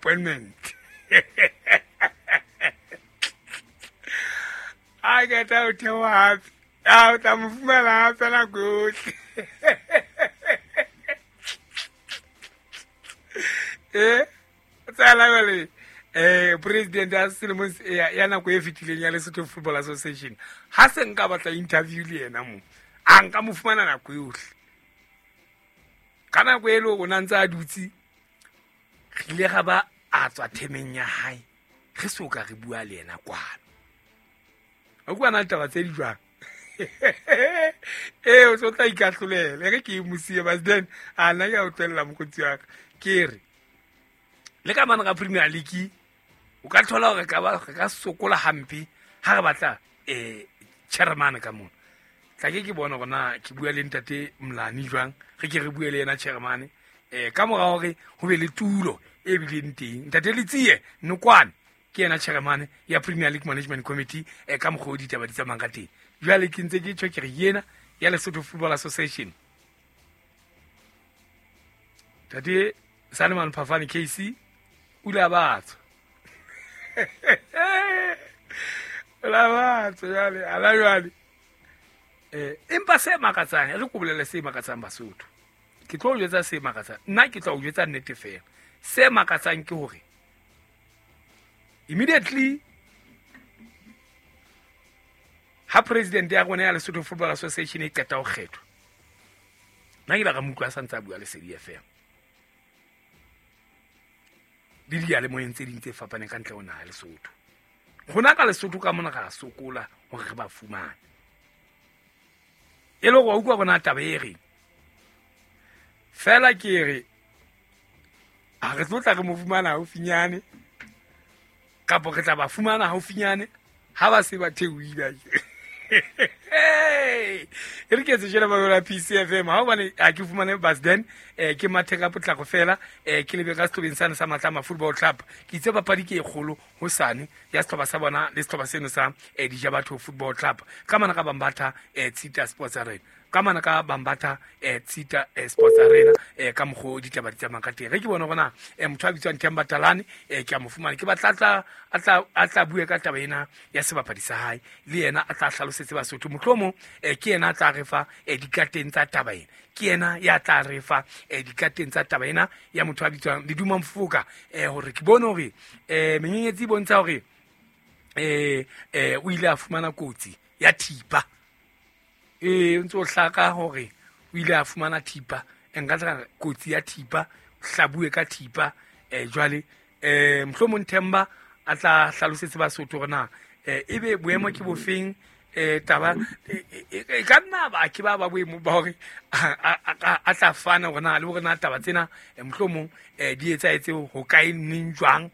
Appointment. A qeta ho theoha hape, a o tla mo fumana hape nako yohle. Eh, tsala jwale president ya selemong ya nako e fetileng ya Lesotho Football Association, ha se nka batla interview le yena mo, a nka mo fumana nako yohle. Ka nako e le o na ntse a dutse, re ile ga ba a tswa themeng ya hae, re so ka re bua le yena kwano. O kwa na taba tse di jwang? Ee, o tlo tla ikahlolela. E re ke e mosie, but then a nna ke a o tlohella mokgotsi wa ka. Ke re le ka mane ga Premier League o ka thola hore ka ba re ka sokola hampe ha re batla chairman ka mona. Tla ke bona hore na ke bua le ntate Mlani jwang, re ke re bue le yena chairman ka mora hore ho be le tulo e bileng teng. Ntate Letsie Nokwane ke yena chairman ya Premier League Management Committee ka mokgwa o ditaba di tsamayang ka teng. Jwale ke ntse ke tjho ke re yena ya Lesotho Football Association, Ntate Saneman Phafane KC o ile a batswa. O la batswa jwale, ala jwale. Empa se makatsang, re ko bolelle se makatsang Basotho. Ke tlo o jwetsa se makatsang. Nna ke tla o jwetsa nnete fela. Se makatsang ke hore immediately ha president ya rona ya Lesotho Football Association e qeta ho kgethwa, nna ke la ka mo utlwa a sa ntse a bua Lesedi FM le diyalemoyeng tse ding tse fapaneng ka ntle ho naha ya Lesotho. Rona ka Lesotho ka mona ra sokola hore re ba fumane. E le hore wa utlwa bona taba e reng. Fela ke re ha re tlo tla re mo fumana haufinyane, kapo re tla ba fumana haufinyane ha ba se ba theohile. E re ke etse tjena ba yola PCFM, ha hobane ha ke fumane bus then ke mathe ka potlako fela, ke lebe ka sehlobeng sane sa Matlama Football Club. Ke itse papadi ke e kgolo hosane ya sehlopha sa bona le sehlopha seno sa Dijabatho Football Club ka mana ka Bambatha Tshita Sports Arena, ka mana ka Bambatha Tshita Sports Arena, ka mokgwa o ditaba di tsamayang ka teng. Ge ke bona gona motho a bitswang Themba Talane, ke a mo fumana, ke batla a tla bue ka taba ena ya sebapadi sa hae, le yena a tla hlalosetse Basotho. Mohlomong ke yena a tla re fa dikateng tsa taba ena, ke yena ya tla re fa dikateng tsa taba ena ya motho a bitswang Leduma Mfoka, hore ke bone hore menyenyetsi e bontsha hore o ile a fumana kotsi ya thipa. O ntse o hlaka hore o ile a fumana thipa, nka tla kotsi ya thipa, hlabue ka thipa. Jwale mohlomong Themba a tla hlalosetse Basotho hore na ebe boemo ke bofeng, taba e ka nna ba ke ba ba boemo ba hore a tla fana hore na le hore na taba tsena mohlomong di etsahetse ho kae neng jwang,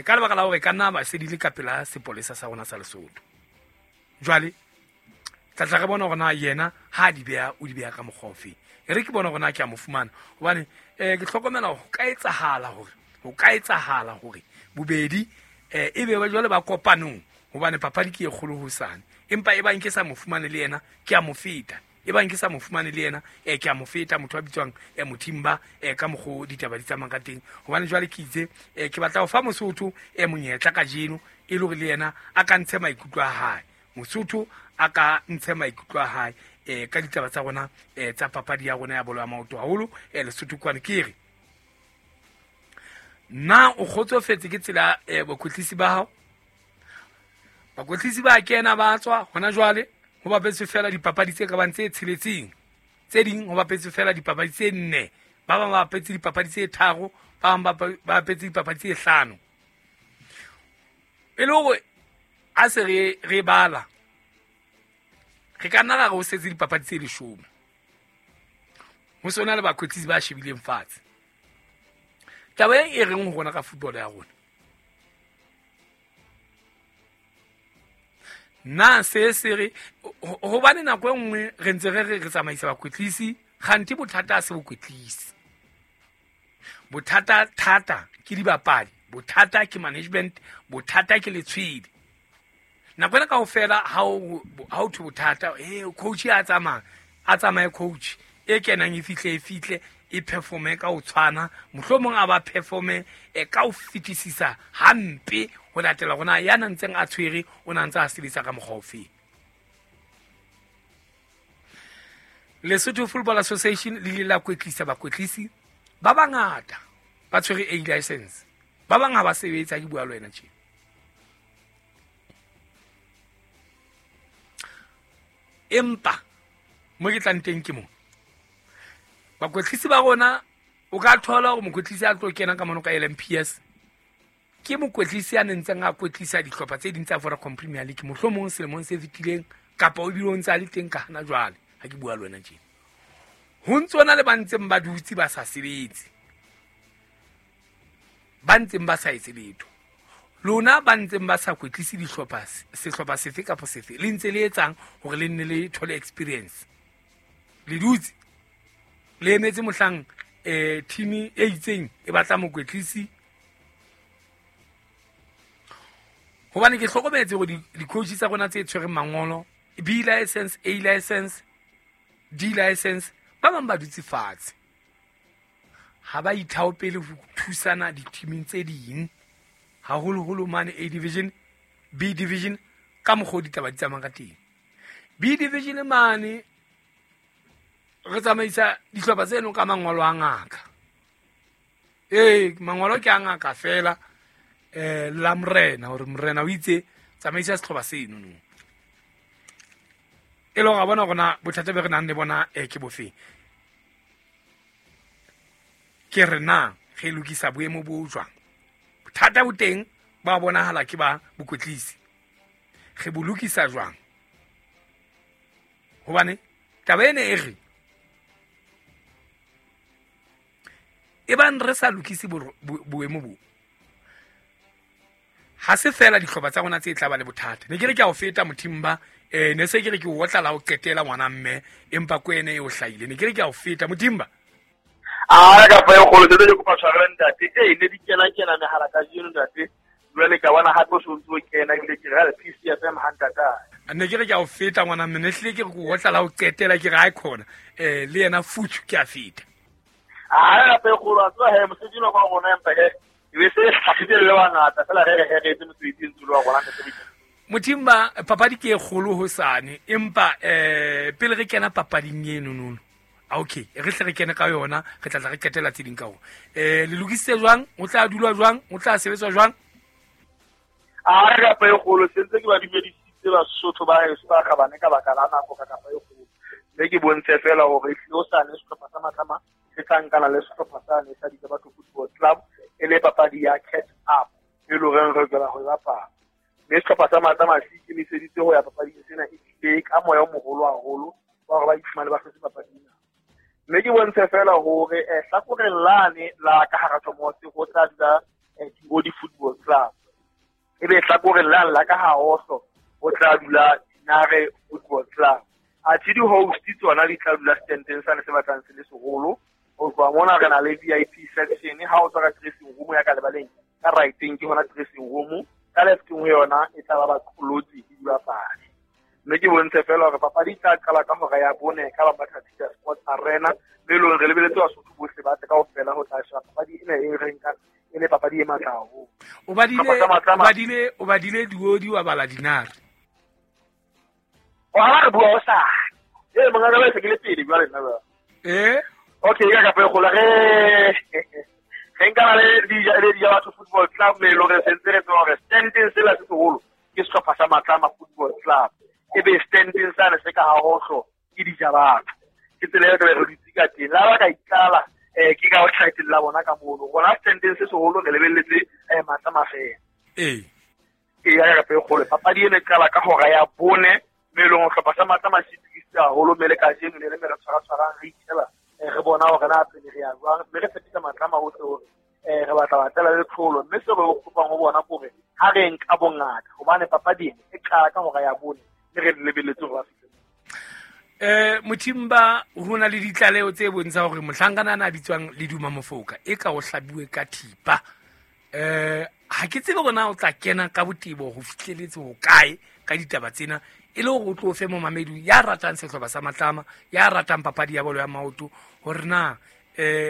ka lebaka la hore ka nna ba se di le ka pela sepolesa sa rona sa Lesotho. Jwale tla tla re bona hore na yena ha di beha, o di beha ka mokgwa ofe. E re ke bona hore na ke a mo fumana, hobane ke hlokomela hore ho ka etsahala hore bobedi e be ba jwale ba kopanong, hobane papadi ke e kgolo hosane. Empa e bang ke sa mo fumane le yena, ke a mo feta. E bang ke sa mo fumane le yena, ke a mo feta motho a bitswang Mothimba, ka mokgwa o ditaba di tsamayang ka teng. Hobane jwale ke itse ke batla ho fa Mosotho monyetla kajeno, e le hore le yena a ka ntshe maikutlo a hae. Mosotho a ka ntshe maikutlo a hae ka ditaba tsa rona tsa papadi ya rona ya bolo ya maoto haholo Lesotho kwane. Ke re na o kgotsofetse ke tsela bakwetlisi ba hao? Bakwetlisi ba kena ba tswa hona jwale, ho bapetswe fela dipapadi tse ka bang tse tsheletseng, tse ding ho bapetswe fela dipapadi tse nne, ba bang ba bapetse dipapadi tse tharo, ba bang ba bapetse dipapadi tse hlano. E le hore a se re bala, re ka nna ra re ho setse dipapadi tse 10. Ho sona le bakwetlisi ba shebileng fatshe. Taba e reng ho rona ka football ya rona, na se se re hobane nako e nngwe re ntse re re re tsamaisa bakwetlisi, kganthe bothata ha se bokwetlisi. Bothata thata ke dibapadi, bothata ke management, bothata ke letshwele. Nako ena kaofela ha o thwe bothata, coach a tsamaya, a tsamaye coach e kenang e fihle, e fihle, e performe ka ho tshwana, mohlomong a ba performe ka ho fetisisa hampe ho latela hore na ya na ntseng a tshwere o na ntse a sebetsa ka mokgwa ofe. Lesotho Football Association le ile la kwetlisa bakwetlisi ba bangata ba tshwere A license, ba bang ha ba sebetsa, ke bua le wena tje. Empa mo ke tlang teng ke mo bakwetlisi ba rona, o ka thola hore mokwetlisi a tlo kena ka mono ka LMPS ke mokwetlisi a nentseng a kwetlisa dihlopha tse ding tsa Vodacom Premier League mohlomong selemong se fetileng, kapa o bile o ntse a le teng ka hana jwale ha ke bua le wena tje. Ho ntse hona le ba ntseng ba dutse ba sa sebetse, ba ntseng ba sa etse letho. Lona ba ntseng ba sa kwetlise dihlopha, sehlopha sefe kapa sefe, le ntse le etsang hore le nne le thole experience. Le dutse le emetse mohlang team e itseng e batla mokwetlisi. Hobane ke hlokometse hore di-coach tsa rona tse tshwereng mangolo, B license, A license, D license, ba bang ba dutse fatshe. Ha ba ithaopele ho thusana di-teaming tse ding, haholoholo mane A division, B division, ka mokgwa o ditaba di tsamayang ka teng. B division mane re tsamaisa dihlopha tseno ka mangolo a ngaka. Ee, mangolo ke a ngaka fela, la morena, hore morena o itse tsamaisa sehlopha seno no. E le hore a bona hore na bothata be re nang le bona ke bofeng. Ke re na re lokisa boemo bo jwang. Bothata bo teng ba bonahala ke ba bokwetlisi. Re bo lokisa jwang? Hobane taba ena e re e bang re sa lokise boemo bo, ha se fela dihlopha tsa rona tse tla ba le bothata. Ne ke re ke a o feta Mothimba, ne se ke re ke o otla la ho qetela ngwana mme, empa ko ene e o hlahile. Ne ke re ke a o feta Mothimba. A ka fa e kgolo tse ke kopa tshwarelo ntate. Ne di kena kena mehala kajeno ntate. Jwale ka bona hape o se o ntse o kena, ebile ke re PCFM ha ntata. Ne ke re ke a o feta ngwana mme, ne hlile ke re ke o otla la ho qetela, ke re ha e khona. Le yena futhu ke a feta. A ka fa e kgolo, a tseba he mosebetsi wa rona empa he e be se hlahile le bangata fela re re re etse mosebetsi ntse wa rona ntate. Mothimba, papadi ke e kgolo hosane, empa pele re kena papading eno nono. Okay, re hle re kene ka yona, re tla tla re qetela tse ding ka hona. Le lokisitse jwang? O tla dulwa jwang? O tla sebetswa jwang? A re kapa e kgolo, se ntse ke ba dumedisitse Basotho ba heso ba kgabane ka baka la nako ka kapa e kgolo. Mme ke bontshe fela hore ehlile hosane sehlopha sa Matlama se tla nkana le sehlopha sane sa Dijabatho Football Club, e le papadi ya catch up e leng hore re lokela ho e bapala. Mme sehlopha sa Matlama se ikemiseditse ho ya papading sena e tlile ka moya o moholo haholo wa hore ba iphumane ba hlotse papading ena. Mme ke bontshe fela hore hlakoreng lane la ka hara Thomosi ho tla dula Diodi Football Club. Ebe hlakoreng lane la ka ha Oslo ho tla dula Dinare Football Club. Athe di-host tsona di tla dula standeng sane se batlang se le seholo. Ho tloha mona re na le VIP section, ha o tswa ka dressing room ya ka lebaleng, ka right-eng ke hona dressing room, ka left-eng ho yona e tla ba baqolotsi le dibapadi. Mme ke bontshe fela hore papadi e tla qala ka hora ya 4 ka Bambatha Peter Sports Arena, mme e leng hore re lebeletse Basotho bohle ba tle kaofela ho tla sheba papadi ena e re nkang e le papadi e matla haholo. O badile Diodi, wa bala Dinare. O ha re bua o sa. Mongaka ba se ke le pele jwale nna ba. Okay, ka kapa e kgolo re nkana le Dijabatho Football Club, mme e leng hore sentse re tseba hore standing sela se seholo ke sehlopha sa Matlama Football Club. Ebe standing sane se ka ha hohlo ke Dijabatho. Ke tsela e re re dutse ka teng. La ba ka itlala, ke ka ho title la bona ka mono. Rona standing se seholo re lebelletse Matlama fela. Ya ka e kgolo. Papadi ena e qala ka hora ya 4, mme e leng hore sehlopha sa Matlama se itukisitse haholo, mme le kajeno ne le me re tshwara-tshwarang, re itjheba, re bona hore na pele re ya jwang, mme re tshepisa Matlama hohle hore re batla ba tlela le tlholo. Mme seo re kopang ho bona ke hore ha re nka bongata, hobane papadi ena e qala ka hora ya 4, mme re lebelletse hore ba fihle. Mothimba, ho na le ditlaleho tse bontshang hore mohlankana ana a bitswang Leduma Mofoka e ka o hlabiwe ka thipa. Ha ke tsebe hore na o tla kena ka botebo ho fihleletse ho kae ka ditaba tsena, e le hore o tlo fe momamedi ya ratang sehlopha sa Matlama, ya ratang papadi ya bolo ya maoto, hore na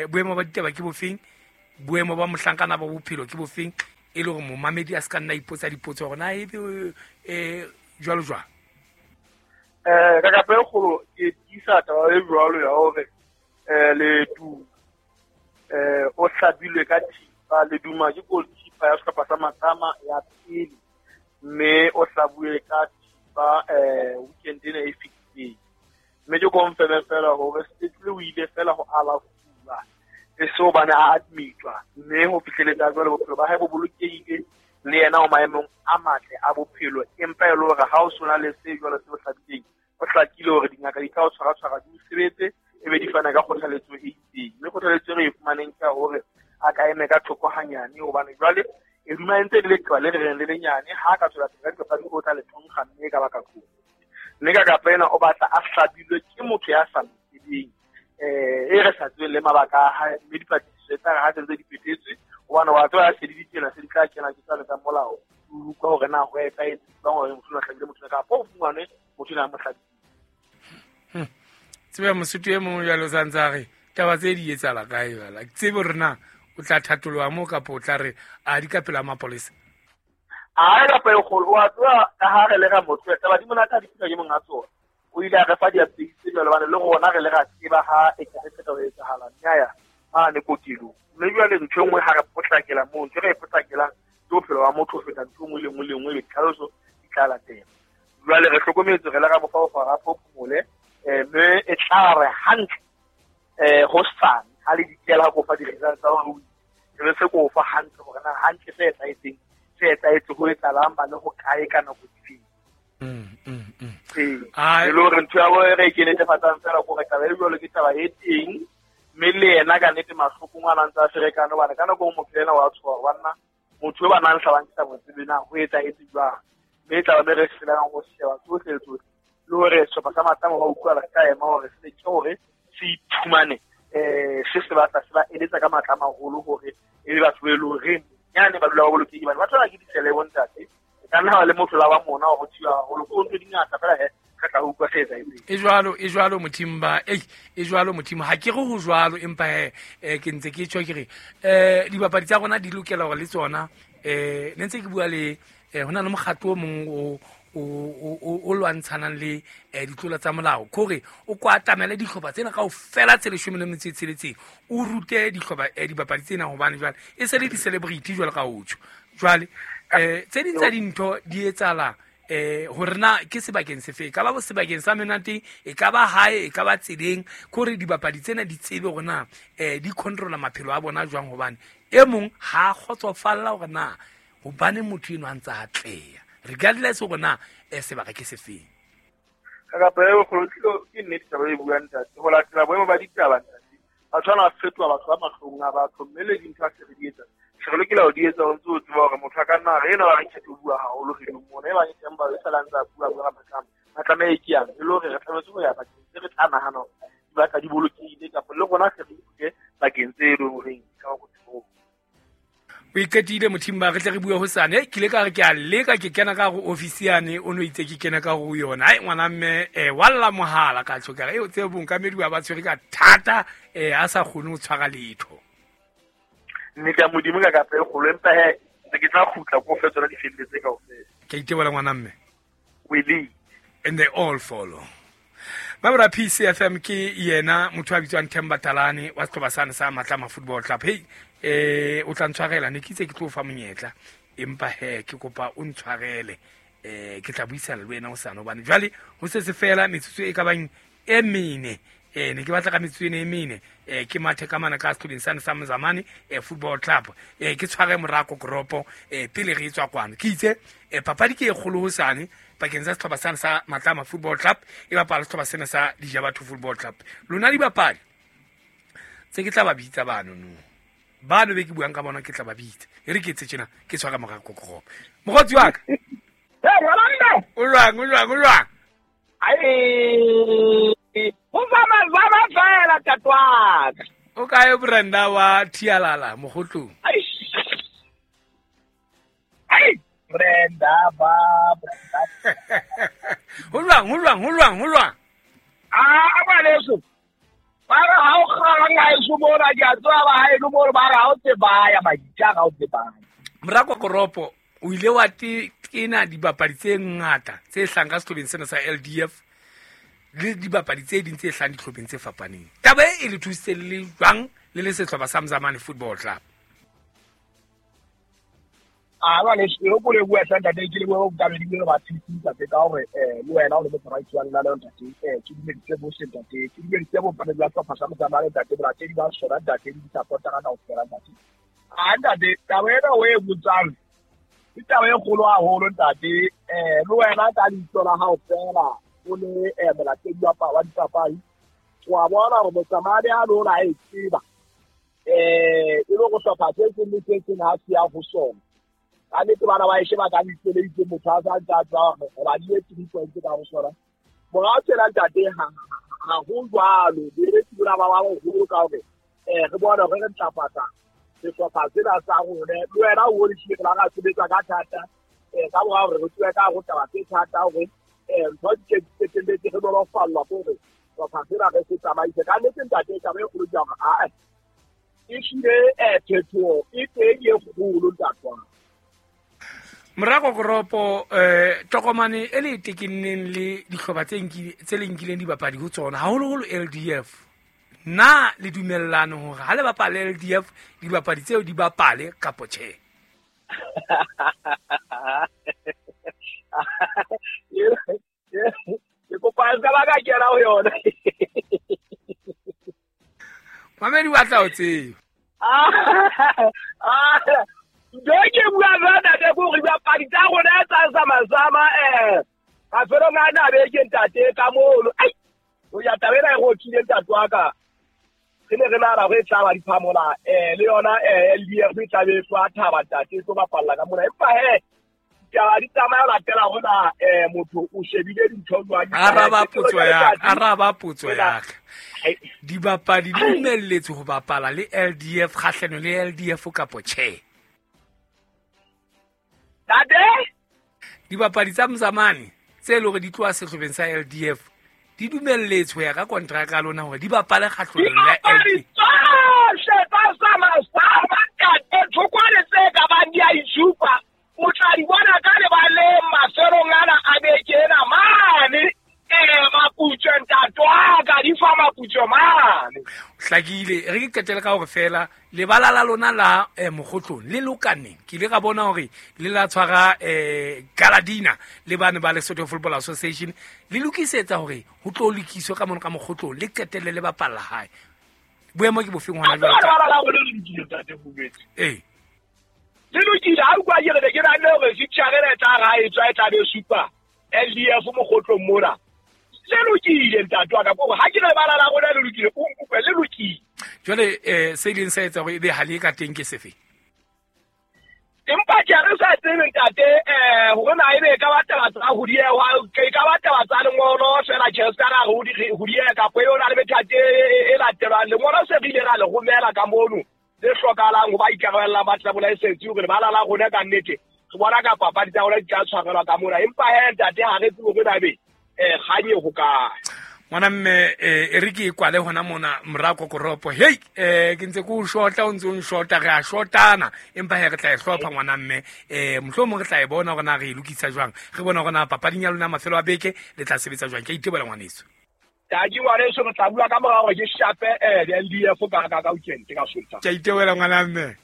Boemo ba ditaba ke bofeng, boemo ba mohlankana ba bophelo ke bofeng, e le hore momamedi a se ka nna ipotsa dipotso hore na ebe jwalo jwang. Ka kapa e kgolo ke tiisa taba e jwalo ya hore Leduma o hlabilwe ka thipa. Leduma ke goalkeeper ya sehlopha sa Matlama ya pele, mme o hlabuwe ka thipa weekend ena e fetileng. Mme ke confirm fela hore sepetlele o ile fela ho alafuwa, e se hobane a admitwa, mme ho fihleletsa jwale bophelo ba hae bo bolokehile, le yena o maemong a matle a bophelo. Empa e le hore ha o sona le se jwalo se o hlabileng, o hlakile hore dingaka di tla o tshwara-tshwara di o sebetse, ebe di fana ka kgothaletso e itseng. Mme kgothaletso e re e fumaneng ke ya hore a ka eme ka thoko hanyane, hobane jwale e duma e ntse le leqeba le reng le lenyane, ha a ka tswela pele ka dipapadi o tla le thonkga mme e ka baka kotsi. Mme ka kapa ena o batla a hlabilwe ke motho ya sa mo tsebeng, e re sa tsebeng le mabaka a hae, mme dipatlisiso tsa ha tse di phethetswe, hobane wa tseba se di ditsela se di tla kena ke tsale tsa molao, o utlwa hore na ho etsahetse jwang hore motho a hlabile motho kapa o fumanwe motho ena a mo hlabile. Tsebe mosotho e mong jwalo sa ntse a re taba tse di etsahala kae jwale, ke tsebe hore na o tla thatoloha moo kapa o tla re a di ka pela mapolesa. A kapa e kgolo wa tseba ka ha re le ra motho taba di monate ha di fihla ke monga tsona. O ile a re fa di-updates tse jwalo, hobane le rona re le ra tseba ha e ka re qeta ho etsahala, mme a ya mane kokelong. Mme jwale ntho e nngwe ha re potlakela moo, ntho e re e potlakelang ke bophelo ba motho ho feta ntho e nngwe le nngwe le nngwe, ditlhaloso di tla latela. Jwale re hlokometse re le ra mo fa ho fara phomole, mme e tla re hantle hosane ha le dikela ha ko fa di-results tsa hore o re se ko fa hantle hore na hantle se etsahetseng, se etsahetse ho etsahalang, ba le ho kae ka nako difeng. E le hore ntho ya bo re ke netefatsang fela hore taba e jwalo ke taba e teng, mme le yena ka nnete mahloko a ntse a ferekane, hobane ka nako e motho ena wa tshoha hore banna motho e ba nang hlabang ke sa mo tsebe na ho etsahetse jwang. Mme e tla ba me re hlolang ho sheba tsohle tsohle, le hore sehlopha sa Matlama ba utlwala se ka ema hore se leke hore se iphumane se se batla se ba eletsa ka matla a maholo hore e be batho ba e leng hore nyane ba dula ba bolokehile, hobane batho bana ke disele bo ntate. E ka nna ba le motho la wa mona hore ho thiba haholo, ke ntho di ngata fela he re tla utlwa se etsahetseng. E jwalo, e jwalo Mothimba, e jwalo Mothimba, ha ke re ho jwalo, empa he ke ntse ke tjho ke re dibapadi tsa rona di lokela hore le tsona ne ntse ke bua le ho na le mokgatlo o mong o lwantshanang le ditlola tsa molao, ke hore o ko atamele dihlopha tsena kaofela tse 16 o rute dihlopha dibapadi tsena, hobane jwale e se le di-celebrity jwalo ka o tjho. Jwale tse ding tsa dintho di etsahala hore na ke sebakeng sefe, e ka ba sebakeng sa menate, e ka ba hae, e ka ba tseleng, ke hore dibapadi tsena di tsebe hore na di controla maphelo a bona jwang, hobane e mong ha a kgotsofalla hore na hobane motho eno a ntse a atleha, regardless hore na sebaka ke sefeng. Ka kapa e kgolo ke nnete taba e buang ntate, ho latela boemo ba ditaba ntate, batho bana ba fetoha batho ba mahlong a batho, mme le dintho ha se re di etsa, se re lokela ho di etsa ho ntse o tseba hore motho a ka nna re ena ba re kgethe ho bua haholo re ding mona, e bang e teng ba e sala ntse a bua bua Matlama, Matlama e ke yang, e le hore re tlametse ho ya bakeng tse re tla nahana hore di batla di bolokehile, kapa le rona se re ithute bakeng tse e leng horeng ka ho tsebo. O iqetile Mothimba, re tle re bue hosane. Ke ile ka re ke a leka ke kena ka hare office yane, o no itse ke kena ka hare ho yona. Hai ngwana mme wa lla mohala ka tjho ka re, o tsebe bonkamedi ba tshwere ka thata, a sa kgone ho tshwara letho. Nnete ya Modimo ka kapa e kgolo, empa he ntse ke tla kgutla ko fe tsona di felletse kaofela. Ke itebola ngwana mme. We lead. And they all follow. Mabra PCFM ke yena motho a bitswang Themba Talane wa sehlopha sane sa Matlama Football Club. Hey, o tla ntshwarela, ne ke itse ke tlo fa monyetla, empa he ke kopa o ntshwarele, ke tla buisana le wena hosane, hobane jwale ho se se fela metsotso e ka bang e mene, ne ke batla ka metsotso ena e mene, ke mathe ka mana ka sehlopeng sane sa Mzamane Football Club, ke tshware Morako Goropo pele re tswa kwano. Ke itse papadi ke e kgolo hosane pakeng tsa sehlopha sane sa Matlama Football Club e bapala sehlopha sena sa Dijabatho Football Club. Lona dibapadi tse ke tla ba bitsa bano no, bano be ke buang ka bona ke tla ba bitsa, e re ke etse tjena ke tshwara Morako Goropo. Mokgotsi wa ka. O jwang, o jwang, o jwang? Ai, o zama zama fela tatwaka. O kae Brenda wa Thialala mogotlong? Ai, Brenda ba Brenda. Ho jwang, ho jwang, ho jwang, ho jwang? Ah, a ngwaneso. Ba re ha o kgang ha eso mona, ke a tseba ba haeno mono, ba re ha o tsebaya, maditja ha o tsebaya. Mora Kokoropo, o ile wa tena dibapadi tse ngata tse hlang ka sehlopheng sena sa LDF le dibapadi tse ding tse hlang dihlopheng tse fapaneng. Taba e le thusitse le jwang le le sehlopha sa Mzamane Football Club? A jwale e ko le bua hle ntate, ke le bua ka be di ba thusitse ntate ka hore le wena o le motsamaisi wa lenaneo ntate, ke dumeditse bohle ntate, ke dumeditse bompane ba sehlopha sa Mzamane ntate, balatedi ba sona ntate, le di-supportera kaofela ntate. A ntate, taba ena o e botsang ke taba e kgolo haholo ntate. Le wena ka leihlo la hao fela o le molatedi wa dipapadi, wa bona hore Motsamane a lona a e tseba e le go hlopha se seng le se seng ha se ya ho sona. Ka nnete bana ba eshe ba ka leihlo le itseng, motho a sa ntse a tseba hore re badile 3 points ka ho sona. Morao tjena ntate, ha ho jwalo, boeletsi bona ba ba boholo ka hore re bone hore re ntlafatsa sehlopha sena sa rona. Le wena o bone hlile re la ra sebetsa ka thata ka mora hore re tsoe ka hare ho taba tse thata hore ntho di ke qetelletse re nolofallwa ke hore sehlopha sena re se tsamaise. Ka nnete ntate, taba e kgolo ke ya hore ae e hlile phetoho e teng e kgolo ntate wa ka. Mora Kokoropo, tokomane e le tekenneng le dihlopha tse le nkileng dibapadi ho tsona, haholoholo LDF. Na le dumellane hore ha le bapale LDF, dibapadi tseo di bapale kapo tjhe? Ke kopa se ka ba ka kena ho yona. Mamedi wa tla o tseba. Ntho e ke buang jwang ntate ke hore dibapadi tsa rona tsa Zamazama mafelong a na beke ntate ka mono. Ai, o ya taba ena e re otlile ntate wa ka. Re ne re nahana hore e tla ba diphamola le yona LDF e tla be e tswa thaba ntate, e tlo bapalla ka mona. Empa he, ditaba di tsamaya ho latela hore na motho o shebile dintho jwang. Araba potso ya ka, araba potso ya ka. Dibapadi di dumelletswe ho bapala le LDF kgahlano le LDF kapo tjhe? Ntate? Dibapadi tsa Mzamane tse leng hore di tloha sehlopheng sa LDF di dumelletswe ho ya ka kontraka ya lona hore di bapale kgahlanong le Dibapadi LDF. tsohle tsa Zamazama ntate, thokwane tse ka bang di a itshupa, o tla di bona ka lebaleng mafelong ana a beke ena mane. Maputswe ntate wa ka, di fa maputswe mane. Hlakile, re ke qetele ka hore fela lebala la lona la Mokgotlong le lokaneng. Ke ile ka bona hore le la tshwara Galadina le bane ba Lesotho Football Association, le lokisetsa hore ho tlo lokiswe ka mono ka Mokgotlong, le qetelle le bapalla hae. Boemo ke bofeng hona jwale? Lebala la rona le lokile ntate Bobetsi. Ee. Le lokile, ha utlwa ke re ne ke nahanne hore fixture ena e tla ra e tswa e tla be supa LDF Mokgotlong mona. Le lokile ntate wa ka, ke hore ha ke re lebala la rona le lokile, o nkutlwe, le lokile. Jwale se ileng sa etsa hore ebe ha le ka teng ke sefe? Empa ke re sa tsebe ntate, hore na ebe e ka ba taba tsa ho dieha, e ka ba taba tsa lengolo fela tjhe, se ka ra re ho dieha kapa e yona le methati e latelwang. Lengolo se re ile ra le romela ka mono le hlokahalang ho ba ikarabellang ba club license hore lebala la rona ka nnete re bona ka papadi tsa rona di tla tshwarelwa ka mona. Empa he ntate, ha re tsebe hore na ebe kgang e hokae. Ngwana mme, e re ke e kwale hona mona mora Kokoropo. Hei, ke ntse ke o shota, o ntse o nshota, re a shotana. Empa he re tla e hlopha ngwana mme. Mohlomong re tla e bona hore na re e lokisa jwang. Re bona hore na papading ya lona mafelo a beke le tla sebetsa jwang. Ke a itebola ngwaneso. Tadi ngwaneso, re tla bua ka mora hore ke shape di-L D F ka weekend ka Sontaha. Ke a itebola ngwana mme.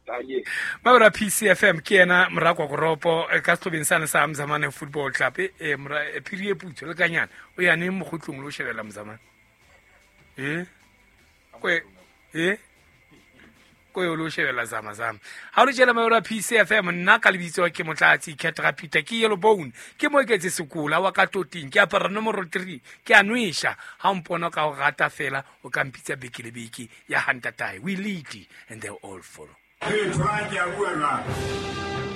Thank Mabra PCFM ke yena mora Kokoropo ka sehlobeng sane sa Mzamane Football Club. Mora phiri e putso le kanyana o ya neng mokgotlong le o shebella Mzamane? Ko yo lo shebella Zamazama. Ha o le tjela Mabra PCFM, nna ka lebitso ke Motlatsi Ketra Peter, ke Yellow Bone, ke mo eketse sekola wa ka toting, ke apara nomoro 3, ke a nwesha. Ha o mpona ka o rata fela, o ka mpitsa beke le beke ya hantatae. We lead and they all follow. Hey, Frank, ya bua jwang?